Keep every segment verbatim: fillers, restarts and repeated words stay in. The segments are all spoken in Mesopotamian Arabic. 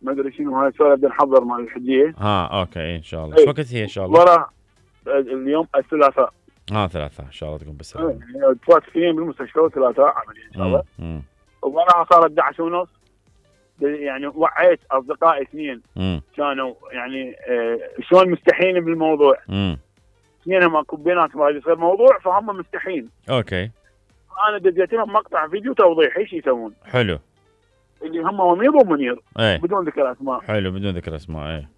ما ادري شنو هاي السؤال، بدنا نحضر مال الحجيه. ها اوكي ان شاء الله. شو وقت هي ان شاء الله؟ ورا اليوم الثلاثاء. ها ثلاثاء ان شاء الله تكون بالسلامه. تفوت اثنين بالمستشفى وثلاثاء عمليه ان شاء الله. وراها صارت احد عشر ونص، يعني وعيت اصدقائي اثنين كانوا يعني آه شلون مستحين بالموضوع. امم اثنينهم اكو بيناتهم هذا يصير موضوع فهم مستحين. اوكي. انا دزيت لهم مقطع فيديو توضيحي ايش يسوون. حلو. اللي هم وميض ومنير. ايه. بدون ذكر اسماء. حلو بدون ذكر اسماء. ايه.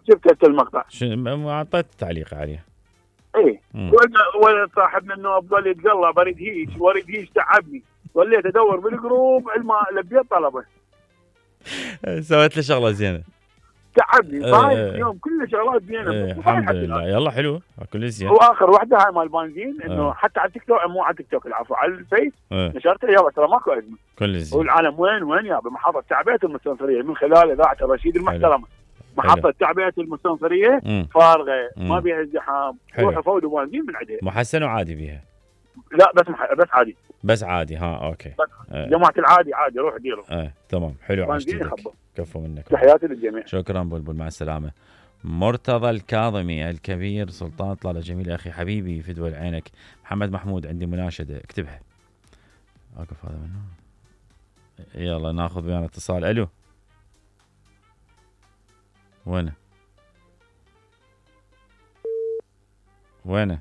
شفت المقطع. شو اعطيت تعليق عليه. ايه. ولد صاحبنا انه افضل يتقلع بريد هيج وريد هيج تعبني، ظليت ادور بالجروب علما لبيت طلبه. سويت له شغله زينه. تعبني صاير اليوم كله شغلات زينه. ايه الحمد لله. يلا حلو كل زين. واخر واحده هاي مال بنزين انه اه. حتى على التيك توك، مو على التيك توك العفو، على الفيس اه. نشرتها يابا ترى ماكو ازمه. كل زين. والعالم وين وين يابا محطه تعبئه المستنصريه من خلال اذاعه الرشيد المحترمه. محطه تعبئه المستنصريه فارغه ما بيها ازدحام، روحوا فودوا بنزين من عندها. محسن وعادي بيها؟ لا بس مح... بس عادي. بس عادي. ها اوكي. بس اه. جماعه العادي عادي روح ديروا. ايه تمام حلو. بنزين كفو منك. تحياتي للجميع. شكرا بلبل مع السلامه. مرتضى الكاظمي الكبير سلطان طلال جميل اخي حبيبي فدوى عينك. محمد محمود عندي مناشده اكتبها. اقف هذا منه. يلا ناخذ ويانا اتصال. الو وينه وينه